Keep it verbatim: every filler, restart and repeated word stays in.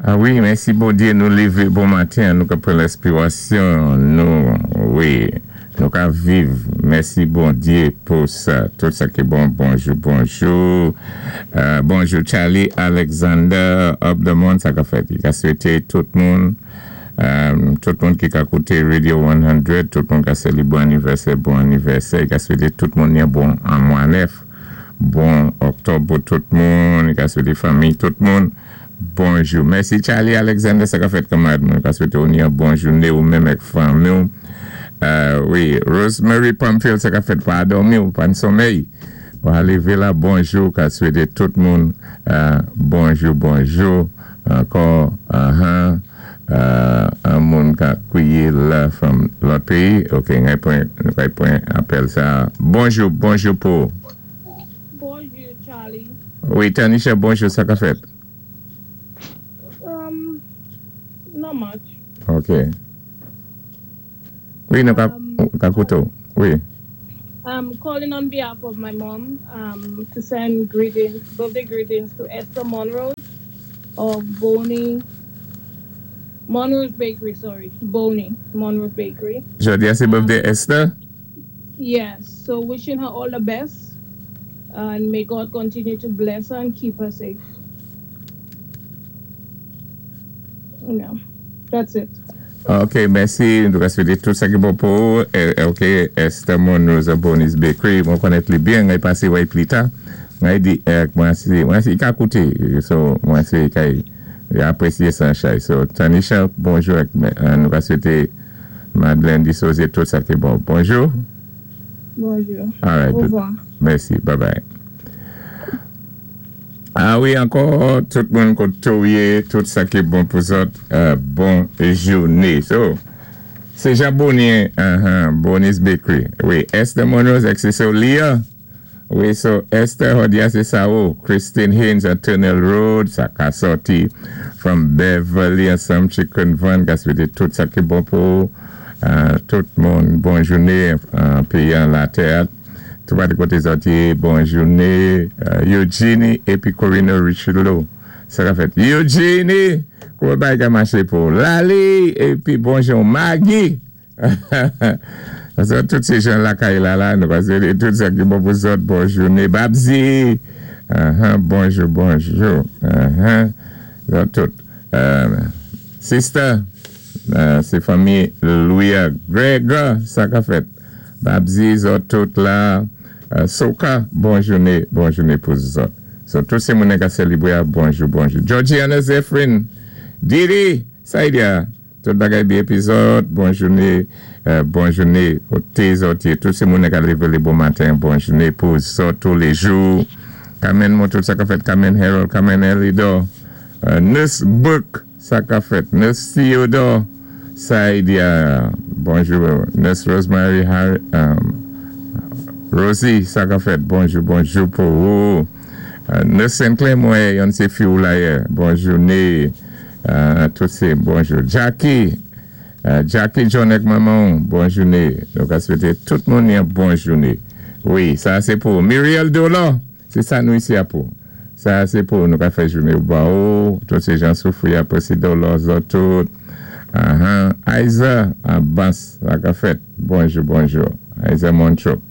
Ah wi, mèsi Bondyé, nou lévé bon maten, nou ka pran lèspirasyon, nou, wi, nou ka viv. Mèsi Bondyé pou sa, tout sa ki bon. Bonjou, bonjou. Euh, bonjou Charlie Alexander up the monde, sa ka fèt. I ka swété tout moun, euh, tout moun ki ka kouté Radio san, tout moun ka sélébwé anivèsè, bon anivèsè. I ka swété tout moun yon bon an mwa nèf, bon oktòb pou tout moun, i ka swété fanmi tout moun. Bonjou. Mèsi Charlie Alexander, sa ka fèt, kanmarad mwen. Ka swété ou yon bon jouné ou menm ak fanmi ou. Euh, wi, Rosemary Pamphile, sa ka fèt, pa dòmi ou pa an somèy. Bon, alévé la, bonjou, ka swété tout moun euh, bonjou, bonjou. Ankò, uh-huh, euh, an moun ka kwiyé la from lòt péyi. Ok, ngay pran, ngay pran apèl sa. Bonjou, bonjou pou. Bonjou, Charlie. Wi, Tanisha, bonjou, sa ka fèt? Um, not much. Ok. Wi, nou ka, Um, ka kouté. Wi. I'm calling on behalf of my mom um, to send greetings, birthday greetings to Esther Monroe of Boney, Monroe's Bakery, sorry, Boney, Monroe Bakery. Jodi a sé birthday Esther? Yes, so wishing her all the best and may God continue to bless her and keep her safe. Yeah, that's it. Ok, mèsi. Nou ka swété tout sa ki bon pou. Eh, ok, Esther Monroe's Boney's Bakery. Mwen konnèt li byen, mwen pasé wè pli ta. Mwen di, eh, mwen si, mwen si ka kouté. So, mwen si ka apwésyé san chay. So, Tanisha, bonjou. Eh, nou ka swété Madeleine Dissosier tout sa ki bon. Bonjou. Bonjou. All right. Orevwa. Mèsi. Bye bye. Ah wi, ankò, tout moun koté ou yé, tout sa ki bon pou zòt, euh, bon jouné. So, sé Jean Bonnier, uh-huh, Bonnie's Bakery. Wi, Esther Monroe, c'est so Leah. Wi, so Esther jòdi a sé sa ou. Christine Haynes at Tunnel Road, sa ka sòti from Beverly ansanm Chicken Van, ka swété tout sa ki bon pou euh, tout moun, bon jouné, euh, péyi an latè. Tout pa di koté zòt yé, bon jouné, euh, Eugenie épi Corina Richelieu. Sa ka fèt. Eugenie, kouman bagay ka maché pou Lali, épi bonjou Maggie. So, tout sé jan lakay la la, nou pasé tout sa ki bon pou zòt, bon jouné. Babzi, uh-huh, bonjou, bonjou. Uh-huh. Zòt tout. Euh, sister, euh, sé fanmi Louis Gregor, sa ka fèt. Babzi, zòt tout la. Euh, Soka, bon jouné, bon jouné pou zòt. So, tout sé moun ka sélébwé, bonjou, bonjou. Georgiana Zephyrin, Didi, Saïdia, tout bagay byen épi zòt, bon jouné, euh, bon jouné, koté zòt yé, tout sé moun ka lévé bon maten, bon jouné pou zòt tous les jours. Kamen moun tout sa ka fèt, Kamen Harold, Kamen Elidor, euh, Nurse Book, sa ka fèt, Nurse Theodore, Saïdia, bonjou, Nurse Rosemary Harry, um, Rosie, sa ka fèt, bonjou, bonjou pou ou. Euh, Nurse Sinclair, mwen, yon sé fi ou la yé, bon jouné, euh, tout sé, bonjou. Jackie, euh, Jackie John ak manman, bon jouné. Donk, a swété tout moun yon bon jouné. Wi, sa sé pou Muriel Dolo, sé sa nou isi a pou. Sa sé pou nou ka fè jouné ou ba ou, tout sé jan soufwi apwé sé Dolo, zòt tout. Uh-huh. Aiza, Abbas, sa ka fèt. Bonjou, bonjou. Aiza Montreux.